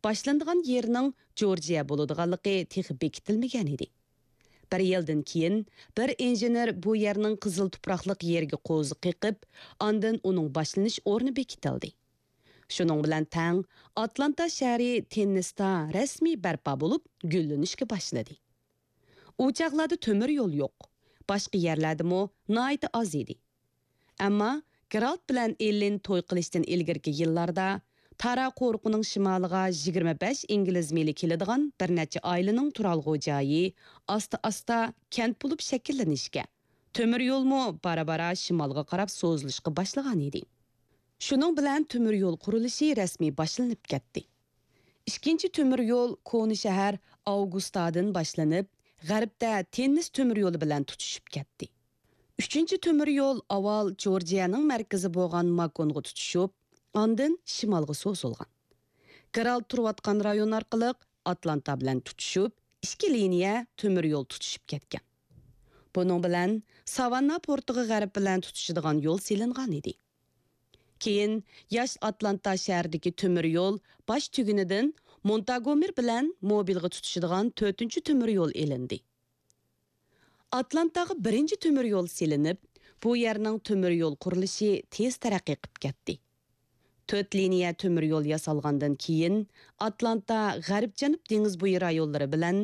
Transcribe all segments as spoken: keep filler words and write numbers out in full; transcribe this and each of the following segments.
باشلىنىدىغان يېرىنىڭ جورجىيە بولىدىغانلىقى تېخى بېكىتىلمىگەن ئىدى. بىر يىلدىن كېيىن بىر ئىنژېنېر بۇ يەرنىڭ قىزىل تۇپراقلىق يېرىگە قوزا قېقىپ، ئاندىن ئۇنىڭ باشلىنىش ئورنى بېكىتىلدى. شۇنىڭ بىلەن تەڭ، ئاتلانتا شەھىرى تېننىستا رەسمىي بەرپا بولۇپ، گۈللىنىشكە باشلىدى. ئۇ چاغلاردا تۆمۈر يول يوق، باشقا يەرلەردىمۇ ناھايىتى ئاز ئىدى. ئەمما گېرالت بىلەن ئېللېن توي قىلىشتىن ئىلگىرىكى يىللاردا تارا قورۇقىنىڭ شىمالىغا يىگىرمە بەش ئىنگلىز مىلى كېلىدىغان بىر نەچچە ئائىلىنىڭ تۇرالغۇ جايى ئاستا-ئاستا كەنت بولۇپ شەكىللىنىشكە، تۆمۈر يولمۇ بارا-بارا شىمالغا قاراپ سوزۇلۇشقا باشلىغان ئىدى. شۇنىڭ بىلەن تۆمۈر يول قۇرۇلۇشى رەسمىي باشلىنىپ كەتتى. ئىككىنچى تۆمۈر يول كونا شەھەر ئاۋگۇستادىن باشلىنىپ، غەربتە تېننىس تۆمۈر يولى بىلەن تۇتىشىپ كەتتى. ئۈچىنچى تۆمۈر يول ئاۋۋال جورجىيەنىڭ مەركىزى بولغان ماكونغا تۇتىشىپ، ئاندىن شىمالغا سوزۇلغان. گېرالت تۇرۇۋاتقان رايون ئارقىلىق ئاتلانتا بىلەن تۇتىشىپ، ئىككى لىنىيە تۆمۈر يول تۇتىشىپ كەتكەن. بۇنىڭ بىلەن ساۋاننا پورتىغا غەرب بىلەن تۇتىشىدىغان يول سېلىنغان ئىدى. كېيىن ياش ئاتلانتا شەھىرىدىكى تۆمۈر يول باش تۈگۈنىدىن مونتاگومېر بىلەن موبىلغا تۇتىشىدىغان تۆتىنچى تۆمۈر يول ئېلىندى. ئاتلانتاغا بىرىنچى تۆمۈر يول سېلىنىپ، بۇ يەرنىڭ تۆمۈر يول قۇرۇلۇشى تېز تەرەققىي قىپ كەتتى. تۆت لىنىيە تۆمۈر يول ياسالغاندىن كېيىن، ئاتلانتا غەرب-جەنۇب دېڭىز بويى رايونلىرى بىلەن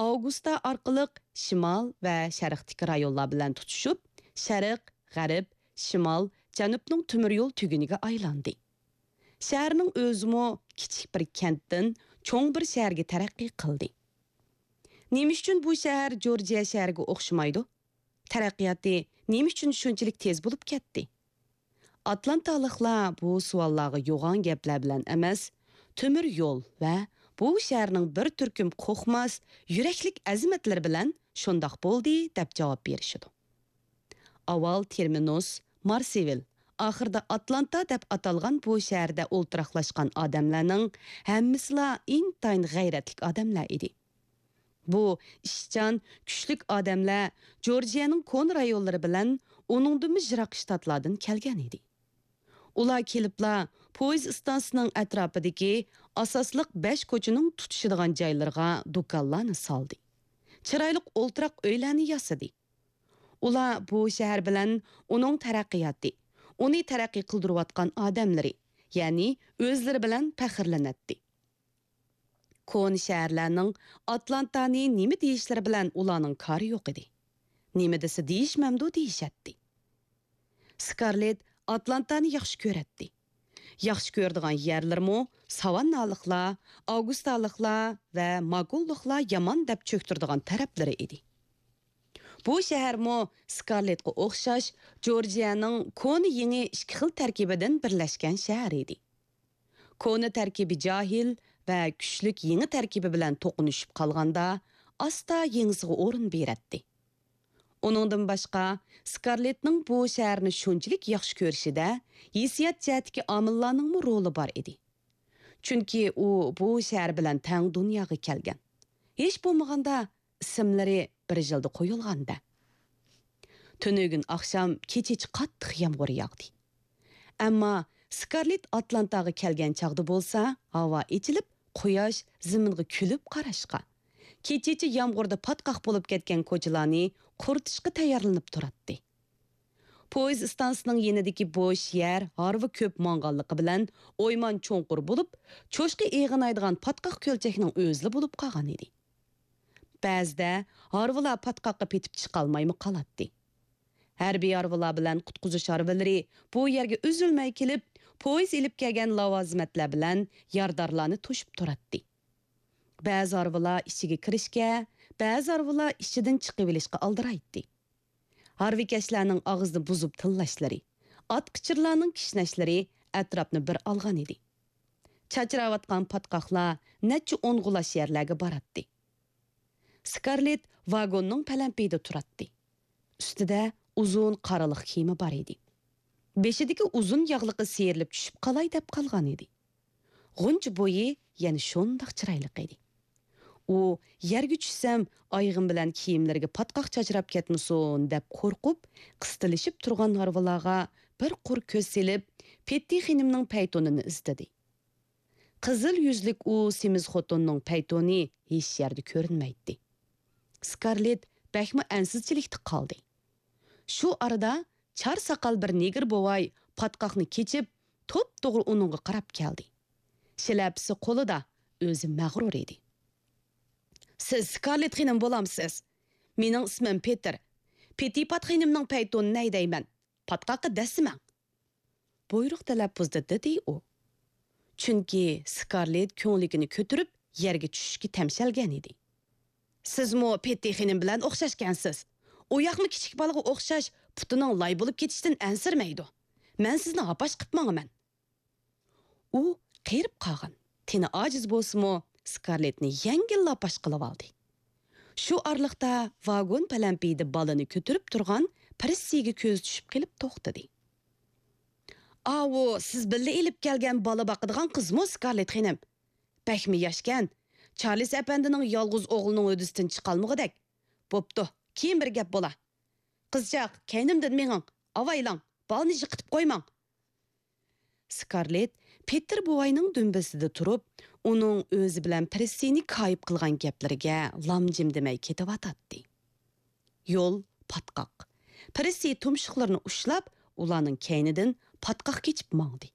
ئاۋگۇستا ئارقىلىق شىمال ۋە شەرقتىكى رايونلار بىلەن تۇتىشىپ، شەرق، غەرب، شىمال، جەنۇبنىڭ تۆمۈر يول تۈگۈنىگە ئايلاندى. شەھەرنىڭ ئۆزىمۇ كىچىك بىر كەنتتىن چوڭ بىر شەھەرگە تەرەققىي قىلدى. نېمە ئۈچۈن بۇ شەھەر جورجىيە شەھىرىگە ئوخشىمايدۇ؟ تەرەققىياتى نېمە ئۈچۈن شۇنچىلىك تېز بولۇپ كەتتى؟ ئاتلانتالىقلار بۇ سوئاللارغا يوغان گەپلەر بىلەن ئەمەس، تۆمۈر يول ۋە بۇ شەھەرنىڭ بىر تۈركۈم قورقماس، يۈرەكلىك ئەزىمەتلىرى بىلەن شۇنداق بولدى دەپ جاۋاب بېرىشىدۇ. ئاۋۋال تېرمىنۇس، مارسېۋىل، ئاخىرىدا ئاتلانتا دەپ ئاتالغان بۇ شەھەردە ئولتۇراقلاشقان ئادەملەرنىڭ ھەممىسىلا ئىنتايىن غەيرەتلىك ئادەملەر ئىدى. بۇ ئىشچان، كۈچلۈك ئادەملەر جورجىيەنىڭ كونا رايونلىرى بىلەن ئۇنىڭدىنمۇ يىراق شتاتلاردىن كەلگەن ئىدى. ئۇلار كېلىپلا پويىز ئىستانسىسىنىڭ ئەتراپىدىكى ئاساسلىق بەش كوچىنىڭ تۇتىشىدىغان جايلىرىغا دۇكانلارنى سالدى. چىرايلىق ئولتۇراق ئۆيلەرنى ياسىدى. ئۇلار بۇ شەھەر بىلەن ئۇنىڭ تەرەققىياتى، ئۇنى تەرەققىي قىلدۇرۇۋاتقان ئادەملىرى، يەنى ئۆزلىرى بىلەن پەخىرلىنەتتى. كونا شەھەرلەرنىڭ ئاتلانتانى نېمە دېيىشلىرى بىلەن ئۇلارنىڭ كارى يوق ئىدى. نېمە دېسە دېيىشمەمدۇ دېيىشەتتى. سكارلېت ئاتلانتانى ياخشى كۆرەتتى. ياخشى كۆرىدىغان يەرلىرىمۇ ساۋاننالىقلار، ئاۋگۇستالىقلار ۋە ماكونلۇقلار يامان دەپ چۆكتۈرىدىغان تەرەپلىرى ئىدى. بۇ شەھەرمۇ سكارلېتقا ئوخشاش جورجىيەنىڭ كونا يېڭى ئىككى خىل تەركىبىدىن بىرلەشكەن شەھەر ئىدى. كونا تەركىبى جاھىل ۋە كۈچلۈك يېڭى تەركىبى بىلەن توقۇنۇشۇپ قالغاندا، ئاستا يېڭىسىغا ئورۇن بېرەتتى. ئۇنىڭدىن باشقا، سكارلېتنىڭ بۇ شەھەرنى شۇنچىلىك ياخشى كۆرۈشىدە ھېسسىيات جەھەتتىكى ئامىللارنىڭمۇ رولى بار ئىدى. چۈنكى ئۇ بۇ شەھەر بىلەن تەڭ دۇنياغا كەلگەن. ھېچ بولمىغاندا ئىسىملىرى بىر يىلدا قويۇلغاندا. تۈنۈگۈن ئاخشام كېچىچە قاتتىق يامغۇر ياغدى. ئەمما سكارلېت ئاتلانتاغا كەلگەن چاغدا بولسا، ھاۋا ئېچىلىپ، قۇياش زېمىنغا كۈلۈپ قاراشقا، كېچىچە يامغۇردا پاتقاق بولۇپ كەتكەن كوچىلارنى قۇرۇتۇشقا تەييارلىنىپ تۇراتتى. پويىز ئىستانسىسىنىڭ يېنىدىكى بوش يەر ھارۋا كۆپ ماڭغانلىقى بىلەن ئويمان چوڭقۇر بولۇپ، چوشقا ئېغىنايدىغان پاتقاق كۆلچەكنىڭ ئۆزىلا بولۇپ قالغان ئىدى. بەزىدە ھارۋىلار پاتقاققا پېتىپ چىقالمايمۇ قالاتتى. ھەربىي ھارۋىلار بىلەن قۇتقۇزۇش ھارۋىلىرى بۇ يەرگە ئۈزۈلمەي كېلىپ، پويىز ئېلىپ كەلگەن لاۋازىمەتلەر بىلەن يارىدارلارنى توشۇپ تۇراتتى. بەزى ھارۋىلار ئىچىگە كىرىشكە، بەزى ھارۋىلار ئىچىدىن چىقىۋېلىشقا ئالدىرايتتى. ھارۋىكەشلەرنىڭ ئاغزىنى بۇزۇپ تىللاشلىرى، ئات قىچىرلارنىڭ كىشنەشلىرى ئەتراپنى بىر ئالغان ئىدى. چاچراۋاتقان پاتقاقلار نەچچە ئون غۇلاچ يەرلەرگە باراتتى. سكارلېت ۋاگوننىڭ پەلەمپىيىدە تۇراتتى. ئۈستىدە ئۇزۇن قارىلىق كىيىمى بار ئىدى. بېشىدىكى ئۇزۇن ياغلىقى سىيرىلىپ چۈشۈپ قالاي دەپ قالغان ئىدى. غۇنچە بويى يەنە شۇنداق چىرايلىق ئىدى. ئۇ، يەرگە چۈشسەم، ئايىغىم بىلەن كىيىملىرىگە پاتقاق چاچراپ كەتمىسۇن دەپ قورقۇپ، قىستىلىشىپ تۇرغان ھارۋىلارغا بىر قۇر كۆز سېلىپ، پېتتى خېنىمنىڭ پەيتۇنىنى ئىزدىدى. قىزىل يۈزلۈك ئۇ سېمىز خوتۇننىڭ پەيتۇنى ھېچ يەردە كۆرۈنمەيتتى. سكارلېت بەكمۇ ئەنسىزچىلىكتە قالدى. شۇ ئارىدا چار ساقال بىر نېگىر بوۋاي پاتقاقنى كېچىپ، توپتوغرا ئۇنىڭغا قاراپ كەلدى. شىلەپىسى قولىدا، ئۆزى مەغرۇر ئىدى. «سىز سكارلېت خېنىم بولامسىز؟ مېنىڭ ئىسمىم پېتىر. پېتىپات خېنىمنىڭ پەيتۇنىنى ھەيدەيمەن. پاتقاققا دەسسىمەڭ.» بۇيرۇق تەلەپپۇزدا دېدى ئۇ. چۈنكى سكارلېت كۆڭلىكىنى كۆتۈرۈپ، يەرگە چۈشۈشكە تەمشەلگەن ئىدى. «سىزمۇ پېتى خېنىم بىلەن ئوخشاشكەنسىز. ئۇ ياقمۇ كىچىك بالىغا ئوخشاش پۇتىنىڭ لاي بولۇپ كېتىشىدىن ئەنسىرىمەيدۇ. مەن سىزنى ھاپاش قىپ ماڭىمەن.» ئۇ قېرىپ قالغان، تېنى ئاجىز بولسىمۇ، سكارلېتنى يەڭگىللا پاش قىلىۋالدى. شۇ ئارىلىقتا ۋاگون پەلەمپىيىدە بالىنى كۆتۈرۈپ تۇرغان پرىسسىگە كۆزى چۈشۈپ قېلىپ توختىدى. «ئاۋۇ سىز بىللە ئېلىپ كەلگەن بالا باقىدىغان قىزمۇ، سكارلېت خېنىم؟ بەكمۇ ياشكەن. چارلىس ئەپەندىنىڭ يالغۇز ئوغلىنىڭ ھۆددىسىدىن چىقالمىغۇدەك. بوپتۇ، كېيىن بىر گەپ بولا. قىزچاق، كەينىمدىن مېڭىڭ، ئاۋايلاڭ، بالىنى يىقىتىپ قويماڭ.» سكارلېت پېتىر بوۋاينىڭ دۈمبىسىدە تۇرۇپ، ئۇنىڭ ئۆزى بىلەن پرىسسىنى كايىپ قىلغان گەپلىرىگە لام-جىم دېمەي كېتىۋاتاتتى. يول پاتقاق. پرىسسى تۇمشۇقلىرىنى ئۇشلاپ، ئۇلارنىڭ كەينىدىن پاتقاق كېچىپ ماڭدى.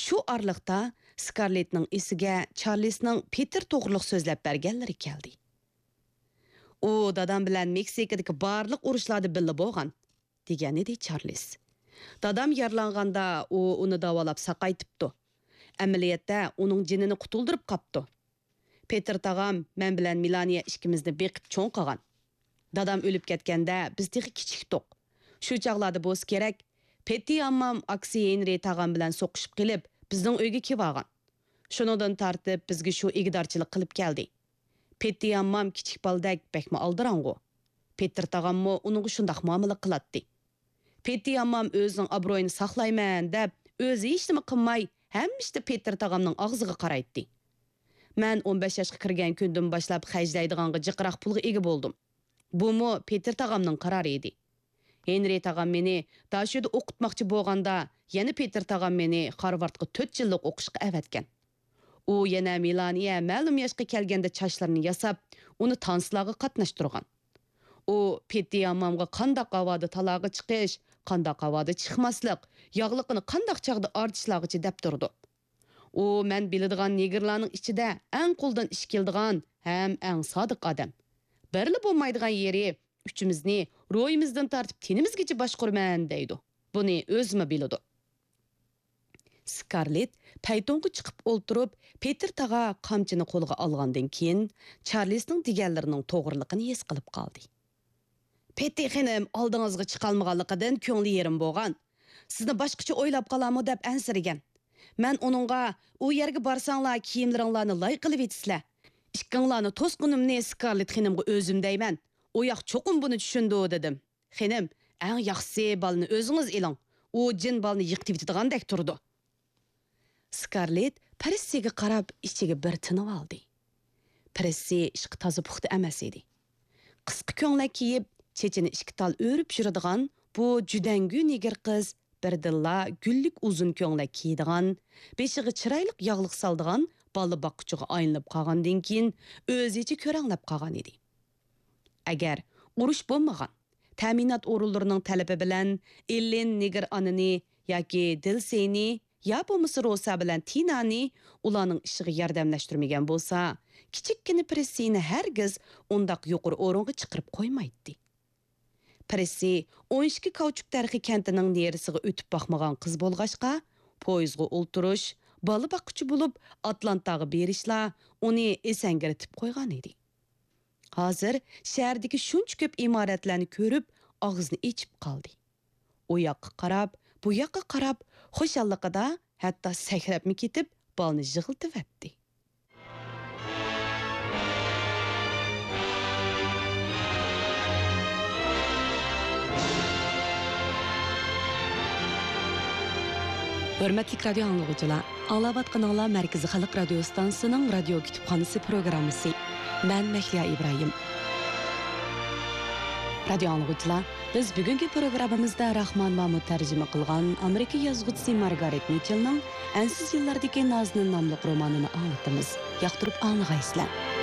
شۇ ئارىلىقتا سكارلېتنىڭ ئېسىگە چارلىسنىڭ پېتىر توغرۇلۇق سۆزلەپ بەرگەنلىرى كەلدى. «ئۇ دادام بىلەن مېكسىكىدىكى بارلىق ئۇرۇشلاردا بىللە بولغان.» دېگەنىدى چارلىس. «دادام يارىلانغاندا ئۇ ئۇنى داۋالاپ ساقايتىپتۇ. ئەمەلىيەتتە ئۇنىڭ جېنىنى قۇتۇلدۇرۇپ قاپتۇ. پېتىر تاغام مەن بىلەن مېلانىيە ئىككىمىزنى بېقىپ چوڭ قىلغان. دادام ئۆلۈپ كەتكەندە بىز تېخى كىچىكتۇق. شۇ چاغلاردا بولسا كېرەك، پېتى ئاممام ئاكىسى ھېنرى تاغام بىلەن سوقۇشۇپ قېلىپ، بىزنىڭ ئۆيگە كېلىۋالغان. شۇنىڭدىن تارتىپ بىزگە شۇ ئىگىدارچىلىق قىلىپ كەلدى. پېتى ئاممام كىچىك بالىدەك بەكمۇ ئالدىراڭغۇ. پېتىر تاغاممۇ ئۇنىڭغا شۇنداق مۇئامىلە قىلاتتى. پېتى ئاممام ئۆزىنىڭ ئابرۇيىنى ساقلايمەن دەپ، ئۆزى ھېچنېمە قىلماي، ھەمىشە پېتىر تاغامنىڭ ئاغزىغا قارايتتى. مەن ئون بەش ياشقا كىرگەن كۈندىن باشلاپ خەجلەيدىغانغا جىقراق پۇلغا ئىگە بولدۇم. بۇمۇ پېتىر تاغامنىڭ قارارى ئىدى. ھېنرى تاغام مېنى داشۆدە ئوقۇتماقچى بولغاندا، يەنە پېتىر تاغام مېنى خارۋاردقا تۆت يىللىق ئوقۇشقا ئەۋەتكەن. ئۇ يەنە مېلانىيە مەلۇم ياشقا كەلگەندە چاچلىرىنى ياساپ، ئۇنى تانسىلارغا قاتناشتۇرغان. ئۇ پېتى ئاممامغا قانداق ھاۋادا تالاغا چىقىش، قانداق ھاۋادا چىقماسلىق، ياغلىقىنى قانداق چاغدا ئارتىشلارغىچە دەپ تۇرىدۇ. ئۇ مەن بىلىدىغان نېگىرلارنىڭ ئىچىدە ئەڭ قولدىن ئىش كېلىدىغان ھەم ئەڭ سادىق ئادەم. بىرلا بولمايدىغان يېرى، ئۈچىمىزنى روھىمىزدىن تارتىپ تېنىمىزگىچە باشقۇرىمەن دەيدۇ. بۇنى ئۆزىمۇ بىلىدۇ. سكارلېت پەيتۇنغا چىقىپ ئولتۇرۇپ، پېتىر تاغا قامچىنى قولىغا ئالغاندىن كېيىن، چارلىسنىڭ دېگەنلىرىنىڭ توغرىلىقىنى ھېس قىلىپ قالدى. پېتى خېنىم ئالدىڭىزغا چىقالمىغانلىقىدىن كۆڭلى يېرىم بولغان. سىزنى باشقىچە ئويلاپ قالارمۇ دەپ ئەنسىرىگەن. مەن ئۇنىڭغا، «ئۇ يەرگە بارساڭلار كىيىملىرىڭلارنى لاي قىلىۋېتىسىلەر. ئىككىڭلارنى توسقىنىمنى سكارلېت خېنىمغا ئۆزۈم دەيمەن. ئۇ ياق چوقۇم بۇنى چۈشىنىدۇ» دېدىم. «خېنىم، ئەڭ ياخشىسى بالىنى ئۆزىڭىز ئېلىڭ. ئۇ جىن بالىنى يىقىتىۋېتىدىغاندەك تۇرىدۇ.» سكارلېت پرىسسىگە قاراپ ئىچىگە بىر تىنىۋالدى. پرىسسى ئىشقا تازا پۇختا ئەمەس ئىدى. قىسقا كۆڭلەك كىيىپ، چېچىنى ئىككى تال ئۆرۈپ يۈرىدىغان بۇ جۈدەڭگۈ نېگىر قىز بىردىنلا گۈللۈك ئۇزۇن كۆڭلەك كىيىدىغان، بېشىغا چىرايلىق ياغلىق سالىدىغان بالا باققۇچىغا ئايلىنىپ قالغاندىن كېيىن، ئۆزىچە كۆرەڭلەپ قالغان ئىدى. ئەگەر ئۇرۇش بولمىغان، تەمىنات ئورۇنلىرىنىڭ تەلىپى بىلەن ئېللېن نېگىر ئانىنى ياكى دىلسېينى يا بولمىسا روسا بىلەن تىنانى ئۇلارنىڭ ئىشىغا ياردەملەشتۈرمىگەن بولسا، كىچىككىنە پرىسسىنى ھەرگىز ئۇنداق يۇقىرى ئورۇنغا چىقىرىپ قويمايتتى. پرىسسى ئون ئىككى كاۋچۇك تەرىخى كەنتىنىڭ نېرىسىغا ئۆتۈپ باقمىغان قىز بولغاچقا، پويىزغا ئولتۇرۇش، بالا باققۇچى بولۇپ ئاتلانتاغا بېرىشلا ئۇنى ئېسەڭگىرىتىپ قويغان ئىدى. ھازىر شەھەردىكى شۇنچە كۆپ ئىمارەتلەرنى كۆرۈپ، ئاغزىنى ئېچىپ قالدى. ئۇ ياققا قاراپ، بۇ ياققا قاراپ، خۇشاللىقىدا ھەتتا سەكرەپمۇ كېتىپ، بالىنى يىغلىتىۋەتتى. ھۆرمەتلىك رادىيو ئاڭلىغۇچىلار، ئاڭلاۋاتقىنىڭلار مەركىزىي خەلق رادىيو ئىستانسىسىنىڭ رادىيو كۇتۇپخانىسى پروگراممىسى. مەن مەھلىيا ئىبراھىم. رادىيو ئاڭلىغۇچىلار، بىز بۈگۈنكى پروگراممىمىزدا راخمان مامۇت تەرجىمە قىلغان ئامېرىكا يازغۇچىسى مارگارېت مىچېلنىڭ ئەنسىز يىللاردىكى نازنىن ناملىق رومانىنى ئاڭلىتىمىز. ياقتۇرۇپ ئاڭلىغايسىلەر.